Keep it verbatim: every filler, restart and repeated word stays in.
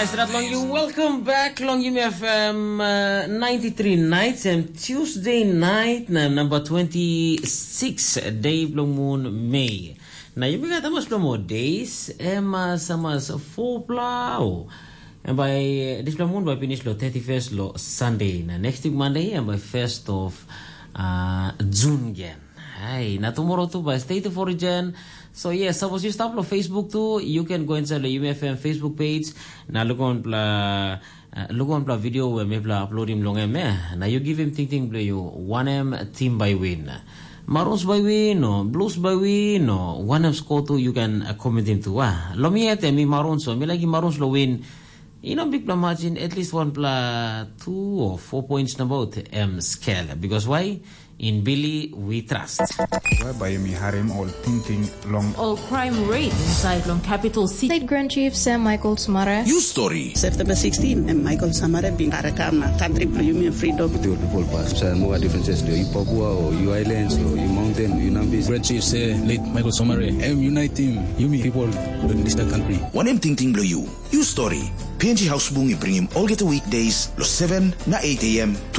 Yes, dat long you. Welcome back long Yumi F M uh, ninety-three nights and Tuesday night na number twenty-six day bilong moon May. Na yumi gat hamas bilong more days, em uh, samas four plau. And by uh, this bilong moon by finish lo thirty-first lo Sunday. Na next week Monday and by first of uh, June again. Hey, na tomorrow too by State of Origin. So yes, suppose you stop lo Facebook too, you can go inside the U M F M Facebook page. Na look on pla uh, look on pla video where me pla upload him long him eh. Na you give him thinking play you one M team by win. Maroons by win or blues by win or one M score too, you can uh, comment him too. Ah, lo mi at me Maroons so me like Maroons lo win. You know big pla margin at least one pla two or four points na about M scale because why? In Billy we trust. Whereby mi harim ol tingting long All crime rate inside long capital city. State Grand Chief Sam Michael Sumare. News story. September sixteen, em Michael Samare bin karakam na country bilong yumi freedom. With your people pass. So more differences do you Papua or you islands or you mountain, you Nambis. Grand Chief say late Michael Somare, em unite team, yumi people in this country. One M ting ting below you. You story. P N G House Bungi bring him all get weekdays, lo seven na eight a.m.